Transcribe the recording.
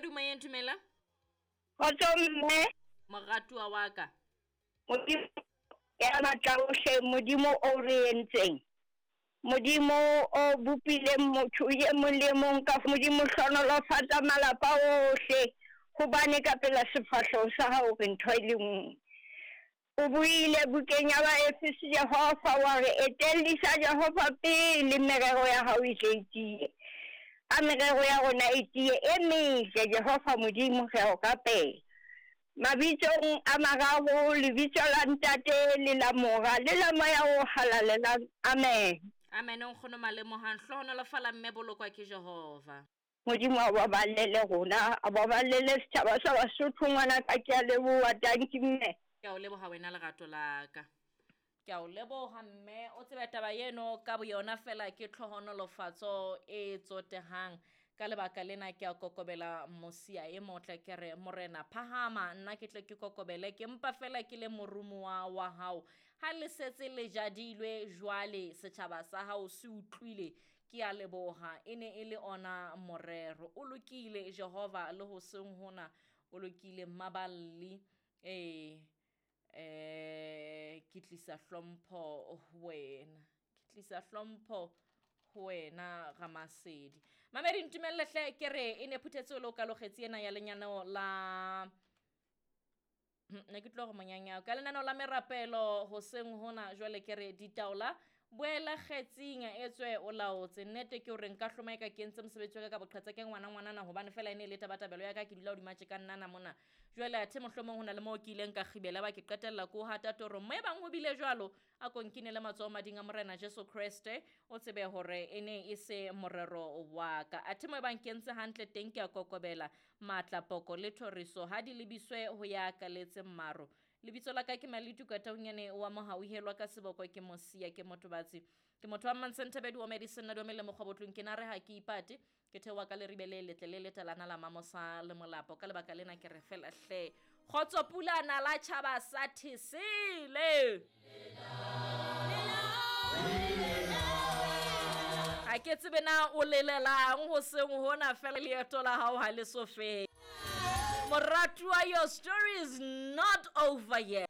Mamedi o moyeng, dumela. Kgotso mme. Moratuwa wa ka. Modimo ya matla ohle, Modimo o re entseng. Modimo o bopileng motho e mong le e mong ka Modimo hlonolofatsa malapa ohle hobane ka pela sefahleho sa hao re ntho e le nngwe. O buile bukeng ya Baefese Jehova wa re etellisa Jehova pele merero ya hao e tle e tiye. A merero ya rona e tiye e metle Jehova Modimo re a o rapela. Mabitsong a mararo, lebitso la Ntate le la Mora le la Moya o Halalelang. Amen. Amen nkgono Malemohang. Hlohonolofala mme bolokwa ke Jehova. Modimo a baballele rona, a baballele setjhaba sa Basotho ngwanaka ke a leboha. Dankie mme. Ke a o leboha wena lerato la ka. Ke a o leboha mme o tsebe taba eno ka boyona fela ke tlhohonolofatso e tsotehang. Ka lebaka lena ke a kokobela mosia e motle ke re morena phahama nna ke tle ke kokobele ke mpa fela ke le morumuwa wa hao. Ha le setse le jadilwe jwale setjhaba sa hao se utlwile ke a leboha e ne e le ona morero. O lokile Jehova le hoseng hona o lokile mmaballi ee eh ke tlisa hlompho ho wena ke tlisa hlompho ho wena ramasedi mamedi ntumelle hle ke re e ne phuthetse o le o kalogetse ena ya lenyaneo la ne ke tlo go monyanyao ka lenaneo la merapelo hoseng hona jwale ke re ditaola boela kgetsing etswe o laotse nnete ke gore nka hloma e ka ke entse mosebetsi wa ka ka boqhetsa ke ngwana ngwanana gobane fela e ne e le tabatabelo ya ka ke dula hodima tje ka nnana mona Jwale athe mohlomong ho na le moo ke ileng ka kgibela ba ke qetella ko hata torong. Mo e bang ho bile jwalo, a ko nkinele matsoho mading a Morena Jesu Kreste, o tsebe hore e ne e se morero wa ka. Athe mo e bang ke entse hantle teng ke a kokobela. Matla, poko le thoriso ha di lebiswe ho ya kaletseng maro. Lebitso la ka ke Malituka Taunyane wa Mohauhelwa ka seboko ke Mosia ke Motobatsi. Ke motho wa Mmantsenthabedi wa Madison na Domele Mokgwabotlong ke na re ha ke ipate. Ke theoha ka leribe le letle le letalana la mamosa le molapo. Ka lebaka lena ke re fela hle. Kgotso pulana la tjhaba sa Thesele. Ha ke tsebe na o lelelang ho seng hona fela leeto la hao ha le so fele. Moratuwa, your story is not over yet.